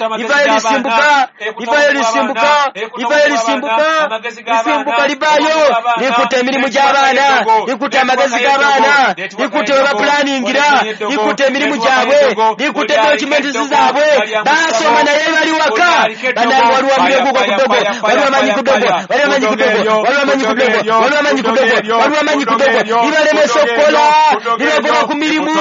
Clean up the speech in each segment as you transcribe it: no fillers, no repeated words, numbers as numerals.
Livayo lisimbuka, livayo lisimbuka, livayo lisimbuka, lisimbuka livayo, likutte emirimu gy'abaana, likutte amagezi g'abaana, likutte we bapulaningira, likutte emirimu gyabwe, likutte documents zaabwe, basoma naye bali waka, bannange waliwo omuliro gugwa ku ddogo, waliwo amanyi ku ddogo, waliwo amanyi ku ddogo, waliwo amanyi ku ddogo, waliwo amanyi ku ddogo, waliwo amanyi ku ddogo, libalemesa okukola, libagoba ku mirimu,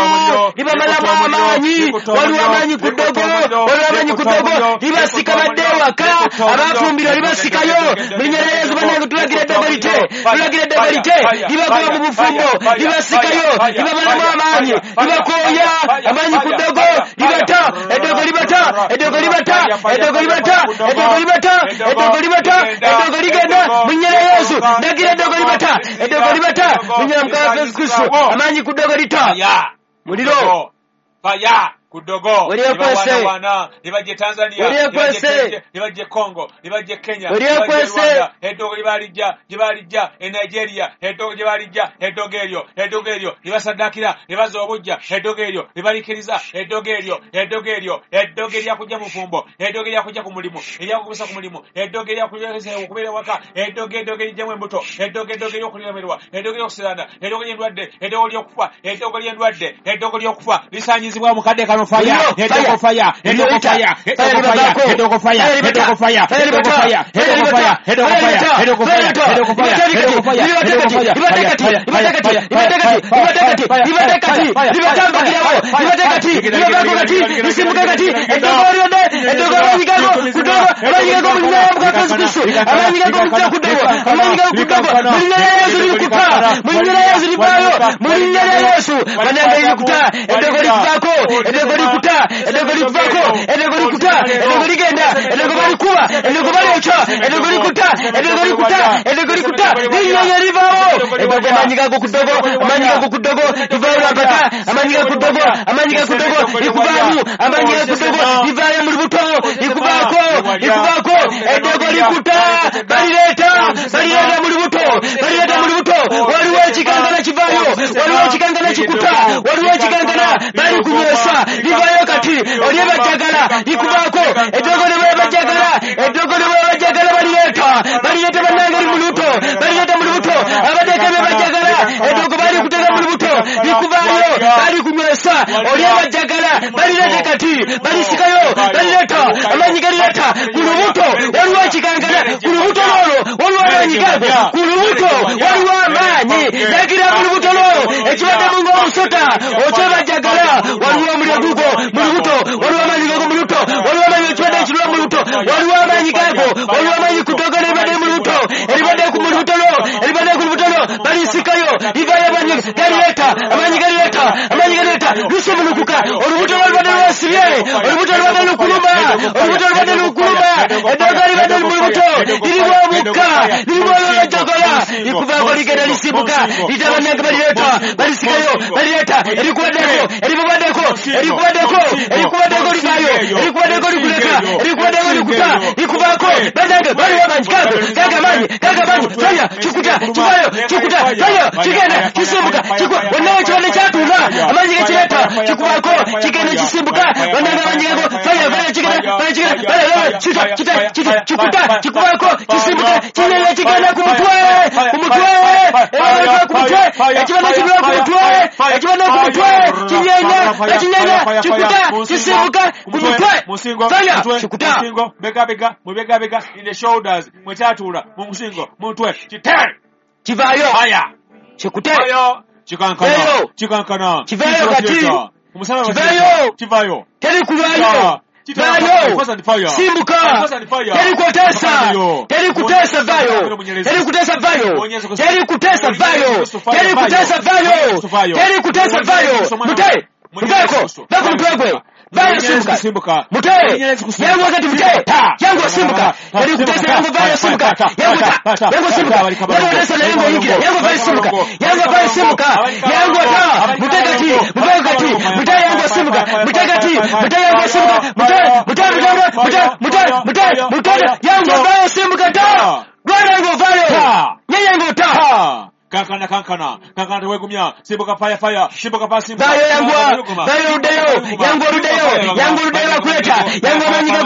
libamalamu amaanyi, waliwo amanyi ku ddogo, waliwo amanyi ku ddogo, libasika badde ewaka, abafumbirwa libasikayo, mu linnya lya Yesu bannange tulagira eddogo lite, tulagira eddogo lite, libagoba mu bufumbo, libasikayo, libamalamu amaanyi, libakooya, amaanyi ku ddogo, libata, eddogo libata, eddogo libata, eddogo libata, eddogo libata, eddogo libata, eddogo ligenda, mu linnya lya Yesu, ndagira eddogo libata, eddogo libata, mu linnya lya Mukama Yesu Kristo, amaanyi ku ddogo lita. Muliro. Fire. Ku ddogo Weryekwese. Libajje Tanzania, Weryekwese. Libajje Congo, libajje Kenya, Weryekwese. libajje Rwanda, eddogo libalijja, gye balijja e Nigeria, eddogo gye balijja, eddogo eryo, eddogo eryo libasaddakira, libaza obujja, eddogo eryo libalikiriza, eddogo eryo, eddogo eryo, eddogo eryakujja mu bufumbo, eddogo eryakujja ku mulimu, eryakugubisa ku mulimu, eddogo eryakujja okubeera ewaka, eddogo, eddogo erijjamu embuto, eddogo, eddogo ery'okulemererwa, eddogo ery'okusiraana, eddogo ly'endwadde, eddogo ly'okufa, eddogo ly'endwadde, eddogo ly'okufa lisaanyizibwa mu kadde kano. Fire, eddogo fire, eddogo fire, eddogo fire, eddogo fire, eddogo fire, eddogo fire, eddogo fire, eddogo fire, eddogo fire, eddogo fire, eddogo fire, eddogo fire, Libatambagirawo, libatekati, libabaako kati, lisimbuka kati, eddogo lyonna, eddogo amaanyi gago ku ddogo, amaanyi gago mu linnya lya Mukama Yesu Kristo, amaanyi gago mujja ku ddogo, amaanyi gago ku ddogo, mu linnya lya Yesu lirikuta, mu linnya lya Yesu livaayo, mu linnya lya Yesu, bannange lirikuta, eddogo likuvaako, eddogo likuta, eddogo likuvaako, eddogo likuta, eddogo ligenda, eddogo balikuba, eddogo balyokya, eddogo likuta, eddogo likuta, eddogo likuta, linnyonyo livaawo, eddogo amaanyi gago ku ddogo, amaanyi gago ku ddogo, livaayo lwampaka, amaanyi gago ku ddogo, amaanyi gago ku ddogo, likuvaamu, amaanyi gago ku ddogo, livaayo mu lubuto, likuvaako, likuvaako, eddogo likuta, balireeta, balireeta mu lubuto, balireeta mu lubuto, waliwo ekikankana kivaayo, waliwo ekikankana kikuta, waliwo ekikankana balikunywesa, livaayo kati, oli bajjagala, likuvaako, eddogo ne bwe bajjagala, eddogo ne bwe bajjagala balireeta, balireeta bannange li mu lubuto, balireeta mu lubuto, abateeka bye bajjagala, eddogo balikutega mu lubuto, likuvaayo, balikunywesa, oli abajjagala, balireeta kati, balisikayo, balireeta, amaanyi galireeta, ku lubuto, waliwo ekikankana, ku lubuto lwolwo, waliwo amaanyi gago, ku lubuto, waliwo amaanyi, lagira mu lubuto lwo, ekibaddemu ng'omusota, okyebajjagala, waliwo omuliro gugwo mu lubuto, waliwo amaanyi gago mu lubuto, waliwo amaanyi ekibadde ekirwa mu lubuto, waliwo amaanyi gago, waliwo amaanyi ku ddogo eribadde mu lubuto, eribadde mu lubuto lwo, eribadde ku lubuto lwo, balisikayo, livaayo amaanyi galireeta, amaanyi galireeta, amaanyi galireeta, lusumulukuka, olubuto lwalubadde lwasibye, olubuto lubadde lukuluma, olubuto lubadde lukuluma, eddogo libadde mu lubuto, lirimu omukka, lirimu olwejjogola, likuvaako ligenda lisimbuka, lita bannange balireeta, balisikayo, balireeta, erikubaddeko, erikubaddeko, erikubaddeko, erikubaddeko livaayo, erikubaddeko likuleka, erikubaddeko likuta, likuvaako, bannange waliwo amaanyi gago, gago amaanyi, gago amaanyi, faya, kikuta, kivaayo, kikuta, faya, kigenda, kisimbuka, wonna ekibadde kyatuula, amaanyi gakireeta, kikuvaako, kigenda kisimbuka, bannange amaanyi gago, faya, faya, kigenda, faya, kigenda, faya, faya, kita, kita, kita, kikuta, kikuvaako, kisimbuka, kigenda, kigenda ku mutwe, ku mutwe, ekibadde ku mutwe, ekibadde kibula ku mutwe, ekibadde ku mutwe, kinyenya, ekinyenya, kikuta, kisimbuka, ku mutwe, faya, kikuta. Musingo, bega, mu bega, in the shoulders, mwekyatuula, mu musingo, mu mutwe, kite, Kivaayo, fire, kikute, fire, kikankana, Kiveeyo. Kikankana, Kiveeyo kati. Omusana Kiveeyo. kivayo, Teri kulwayo, vaayo, simbuka, teri kutesa, teri kutesa, vayo, teri kutesa, vayo, teri kutesa, vayo, teri kutesa, vayo, teri kutesa, vayo, mute, muveeko, va ku mutwe gwe, vayo, simbuka, mute, yangu wakati mute, yangu simbuka, teri kutesa, yangu vayo, simbuka, yangu ta, yangu simbuka, yangu kutesa na yangu yingira, yangu vayo, simbuka, yangu vayo, simbuka, yangu ta, mute kati, muveko kati, mute, yangu simbuka, mute kati, mute, yangu simbuka, mute, mute, mute, mute, mute, mute, mute, yangu vayo, simbuka ta, lwana yangu vayo, nye yangu ta. Kankana, kankana, kankana, tewegumya, simbuka, fire, fire, simbuka, fire, simbuka. Vayo, yanguwa, vayo, luddeyo, yanguwa, luddeyo, yanguwa, luddeyo, bakuleta, yanguwa, amaanyi gago.